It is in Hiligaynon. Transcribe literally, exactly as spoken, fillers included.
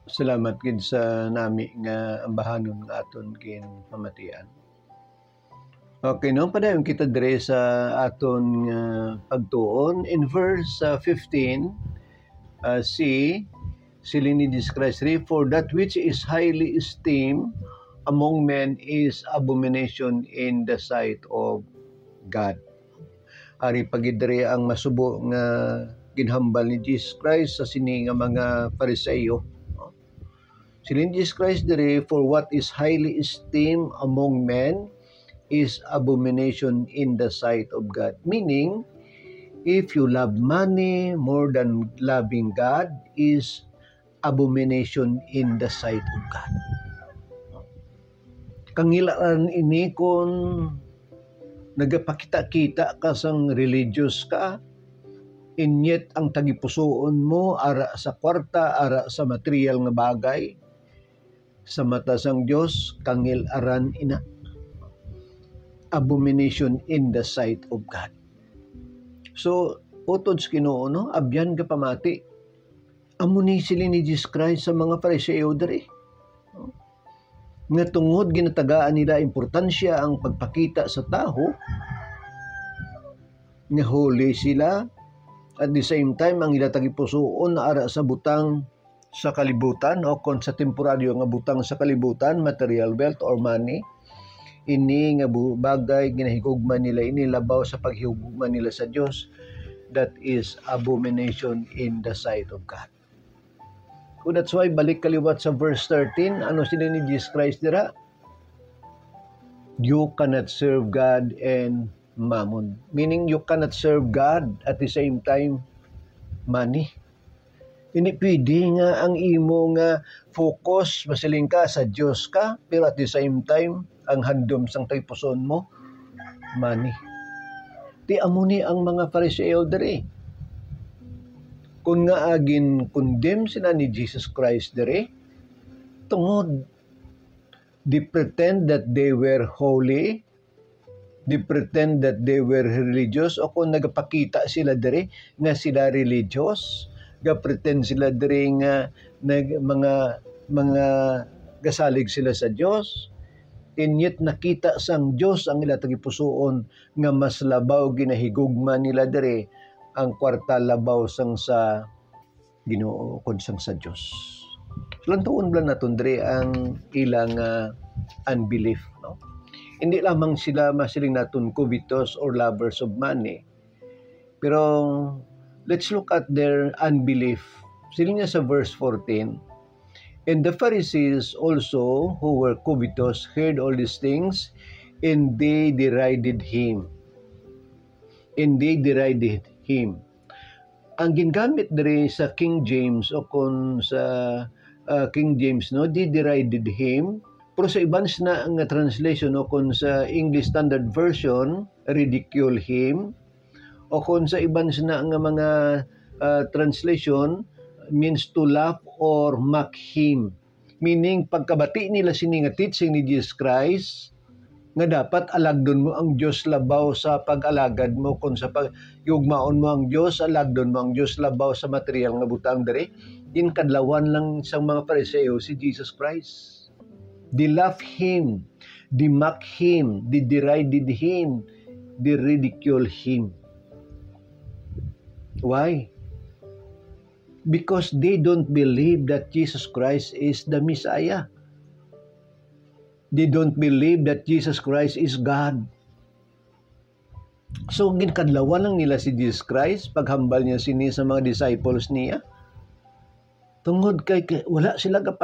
Salamat gid sa nami nga ambahanon nga aton ginpamatian. Okay, no? Padayon kita dire sa aton nga pagtuon. In verse, uh, fifteen, uh, C, siling ni Jesus Christ, "For that which is highly esteemed among men is abomination in the sight of God." Ari pa gid diri ang masubo nga ginhambal ni Jesus Christ sa sini nga mga Fariseo. Siling ni Jesus Christ diri, "For what is highly esteemed among men is abomination in the sight of God." Meaning, if you love money more than loving God is abomination in the sight of God. Kangilaan ini kung nagapakita-kita ka sang religious ka, and yet ang tagipusoon mo ara sa kwarta, ara sa material nga bagay, sa mata sang Dios, kangil-aran ina. Abomination in the sight of God. So, utod sa Ginoo, no, abyan ka pamati. Amo ni siling ni Jesus Christ sa mga Fariseo diri, nga tungod ginatagaan nila importansya ang pagpakita sa tawo nga holy sila, at the same time ang ila tagipusoon ara sa butang sa kalibutan, o kon sa temporaryo nga butang sa kalibutan, material wealth or money, ini nga bu-, bagay ginahigugma nila ini labaw sa paghigugma nila sa Dios. That is abomination in the sight of God. So that's why, balik ka liwat sa verse thirteen, ano sila ni Jesus Christ dira? "You cannot serve God and mammon." Meaning, you cannot serve God at the same time money. Hindi pwede nga ang imo nga focus, masiling ka, sa Dios ka, pero at the same time, ang handom sang tagipusoon mo, money. Ti amo ni ang mga Fariseo diri. Kung nga agin condemn sila ni Jesus Christ diri, tungod they pretend that they were holy, they pretend that they were religious, o kung nagapakita sila diri nga sila religious, ga-pretend sila diri nga nag-, mga, mga gasalig sila sa Dios, and yet nakita sang Dios ang ila tagipusoon nga mas labaw ginahigugma nila diri ang kwarta labaw sang sa Ginoo kon sang sa Dios. Lantuon lang naton diri ang ilang, ah, unbelief, no? Hindi lamang sila masiling naton covetous or lovers of money, pero let's look at their unbelief. Siling niya sa verse fourteen, "And the Pharisees also, who were covetous, heard all these things, and they derided him." And they derided him. Ang gingamit diri sa King James o kon sa, ah, King James, no, they derided him. Pero sa iban sina nga translation o kon sa English Standard Version, ridicule him. O kon sa iban sina nga mga, ah, translation, means to laugh or mock him. Meaning, pagkabati nila sini nga teaching ni Jesus Christ, nga dapat alagdon mo ang Dios labaw sa pag-alagad mo, kon sa pag-, higugmaon mo ang Dios, alagdon mo ang Dios labaw sa material nga butang diri, ginkadlawan lang sang mga Fariseo si Jesus Christ. They laugh him, they mock him, they derided him, they ridicule him. Why? Because they don't believe that Jesus Christ is the Messiah. They don't believe that Jesus Christ is God. So, ginkadlawan lang nila si Jesus Christ paghambal niya sini sa mga disciples niya. Tungod kay, kay wala sila gapa-